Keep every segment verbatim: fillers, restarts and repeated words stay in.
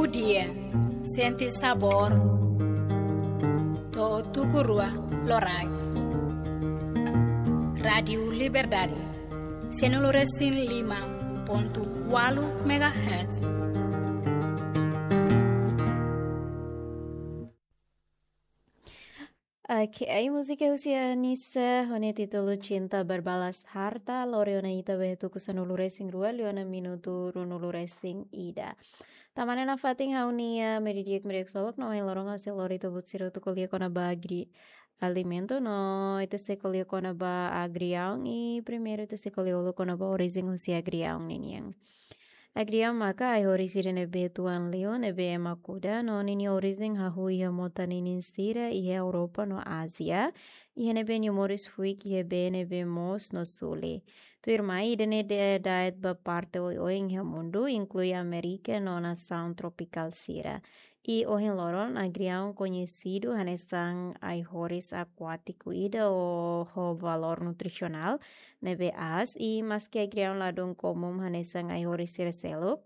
Dia, sente sabór, to'o tuku rua loraik. Rádiu Liberdade, sianulu resin lima pontu ualu megahertz. Oke, ai múzika husi Anisa, ho nia títulu Cinta Berbalas Harta, lori ona ita ba iha tuku sanulu resin rua, liu ona minutu ruanulu resin ida. Tanba ne'e nafatin ha'u-nia, eh, meio-dia, meio-dia ksolok, no ohin loron ha'u sei lori ita-boot sira hotu ko'alia kona-ba agri-, alimento, no ita sei ko'alia kona-ba agriaun, i primeiru ita sei ko'alia uluk kona-ba orijen husi agriaun ninian. Agriaun maka ai-horis ida ne'ebé tuan liu, ne'ebé ema kuda, no ninia orijen hahú iha mota ninin sira iha Europa no Ázia, iha ne'ebé nia moris fuik iha bee ne'ebé moos no suli. Tuirmai ida-ne'e de-, da'et ba parte oioin iha mundu, inklui Amérika no nasaun tropikál sira. I ohin loron, agriaun koñesidu hanesan ai-horis akuátiku ida ho, ho valór nutrisionál ne'ebé aas, i maski agriaun ladún komún hanesan ai-horis sira seluk,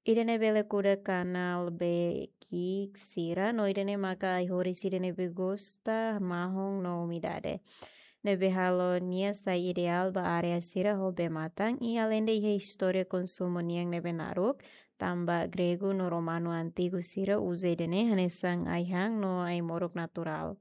ida-ne'e bele kuda kanál bee ki'ik sira, no ida-ne'e maka ai-horis ida ne'ebé gosta mahon no umidade, ne'ebé halo nia sai ideál ba área sira ho bee-matan, i aleinde iha istória konsumu nian ne'ebé naruk, tanba gregu no romanu antigu sira uza ida-ne'e hanesan ai-han no ai-moruk naturál.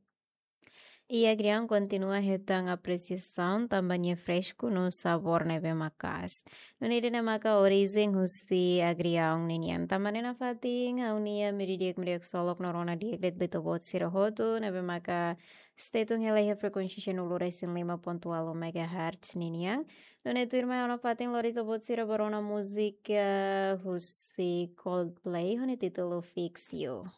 I agriaun kontinua hetan apresiasaun tanba nia fresku no sabór ne'ebé maka'as. Nune'e ida-ne'e maka orijen husi agriaun ninian. Tanba ne'e nafatin ha'u-nia meio-dia, meio-dia ksolok no rona di'ak de'it ba ita-boot sira hotu, ne'ebé maka stay tune hela iha frekuénsia sianulu resin lima pontu ualu megahertz ninian. Nune'e tuirmai ha'u nafatin lori ita-boot sira ba rona múzika husi Coldplay, ho nia títulu Fix You.